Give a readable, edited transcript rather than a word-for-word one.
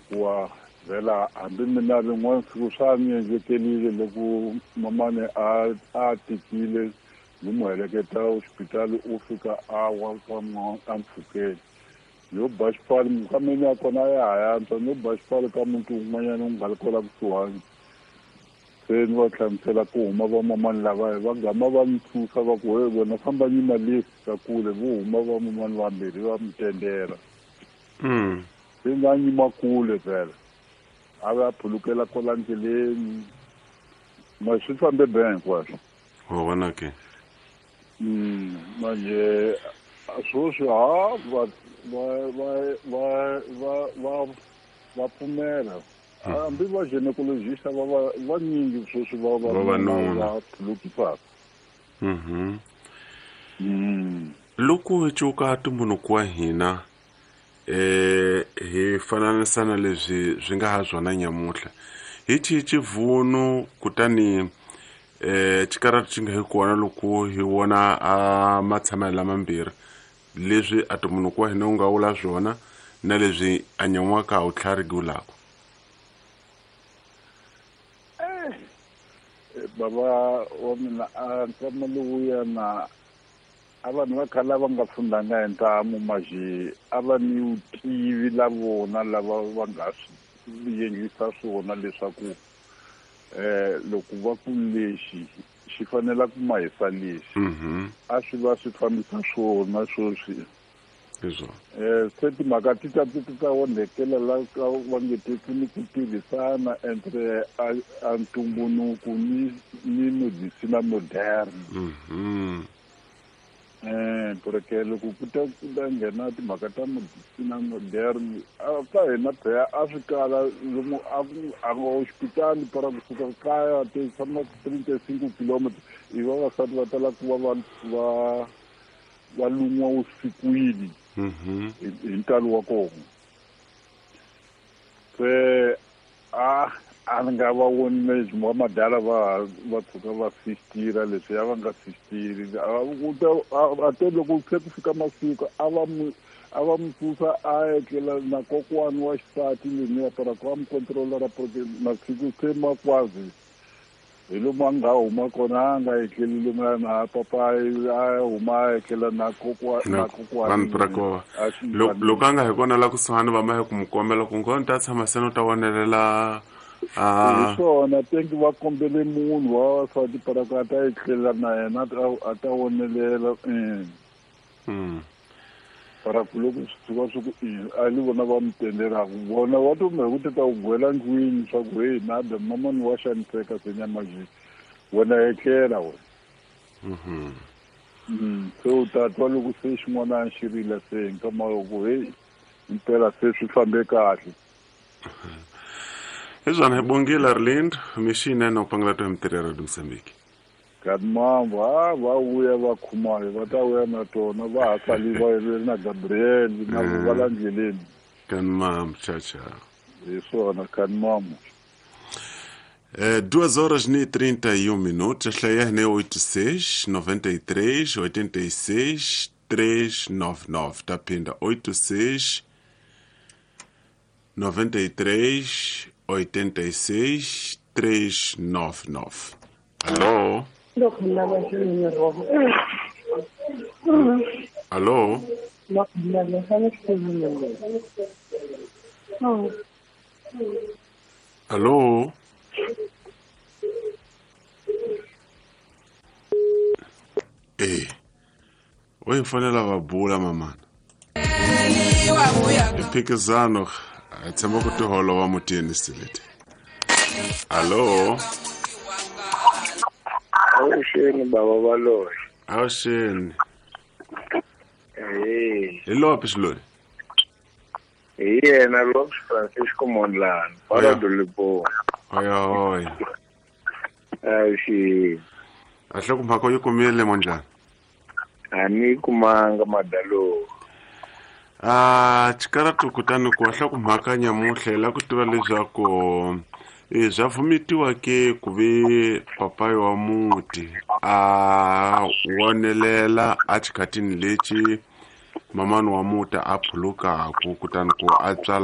Kuwa vhela hambi mina rin'wana siku swa ni endlekelile loko mamani a tikile ni n'wi heleketa hospitali u fika a wa ka ampfhukeni yo ba xipfalo mukameni ya kona ya ha yantswa no ba xipfalo ka muti wun'wanyana wu nga ri kwala kusuhani se ni va hlamusela ku huma vamamani lavaya va gama va ni susa va ku he wena famba nyima le ka kule vo huma vamamani vambirhi va mi tendela. Se nga nyima kule vhela a va phulukela kwala ndleleni ma swi fambe ben hinkwaswo. Wa vona ke. Manje sweswi ha va va va va va va va pfumela hambi va gynecologist va va vanyingi sweswi va vavanuna va phulukisaka. Loko hi cuka tumbuluko wa hina hi fananisa na leswi swi nga ha swona nyamuhla hi xihi xivunu kutani xikarati xi nga hi kona loko hi vona a matshamelo lamambirhi leswi a tumbuluko wa hina wu nga vula swona na leswi a nyan'waka wu tlhariki wulako. Baba wa mina a nkama lowuya na a vanhu va khale va nga fundanga hi ntamu maje a va ni vutivi la vona lava va nga swi endlisa swona leswaku loko va ku lexi xi fanela ku mahisa lexi a swi va swi fambisa swona sweswi. Se timhaka ti ta ti ta onhekela la ka va nge teki ni ku tirhisana entre a ntumbuluko ni medicina moderne. Porque loko ku ta nghena timhaka ta medicina moderne ka hina phela a swi kala lomu a nga hospitali para kusuka kaya ti tshama 35 kilometers i vavasati va tala ku va va lun'wa usikwini hi ntalo wa kona. Se a ni nga va voni leswi va madala va tshuka va sistira leswi a va nga sistiri a te loko se ku fika masiku a va mu susa a etlela na kokwani wa xisati leniya para ku va mu controller porque masiku se makwazi hi lomu a nga huma kona a nga etleli lomu na papa a huma a etlela na kokwani loko a nga hi kona la kusuhani va ma hi ku mu kombela ku ngoni ta tshama se no ta vonelela hi swona tenki va kombele munhu wa vavasati para ku a ta etlela na yena a ta vonelela para ku loko swi tshuka swi ku a li vona va mi tendelaka vona va to ku ti ta ku gwela ndlwini swa ku hey nada mamani wa xaniseka se nyama wena etlela wena. Se u ta twa loko se xin'wana xi rila se nkama loko hey impela se swi fambe kahle. Hi swona hi bongile Arlindo mixinene u pangela to hi mitirho ya Radio Mozambique. Kanimambo ha va vuya va khumayo va ta vuya na tona va ha sali va ri na Gabriel na va la ndleleni. Kanimambo cha. Hi swona kanimambo. 2h31 hlaya ne 86 93 86 399 taphinda 86 93 86 399. Alô? Alô? Alô? Oi fanela va bula mamana. Phikizano a tshama ku tiholova mutini silete. Alô? Awuxeni baba Baloyi. Awuxeni. Hi lopi xilori? Hi yena Lopes Francisco Mondlane, para do Limpopo. Oya oya. Awuxeni. A hloko mhaka yi kumile Mondlane? A ni kumanga madalo. Xikaratu kutani ku hloko mhaka nyamuhla la ku tiva leswaku swa vumitiwa ke ku ve papayi wa muti a wonelela a xikhatini lexi mamani wa muti a phulukaku kutani ku a tswala.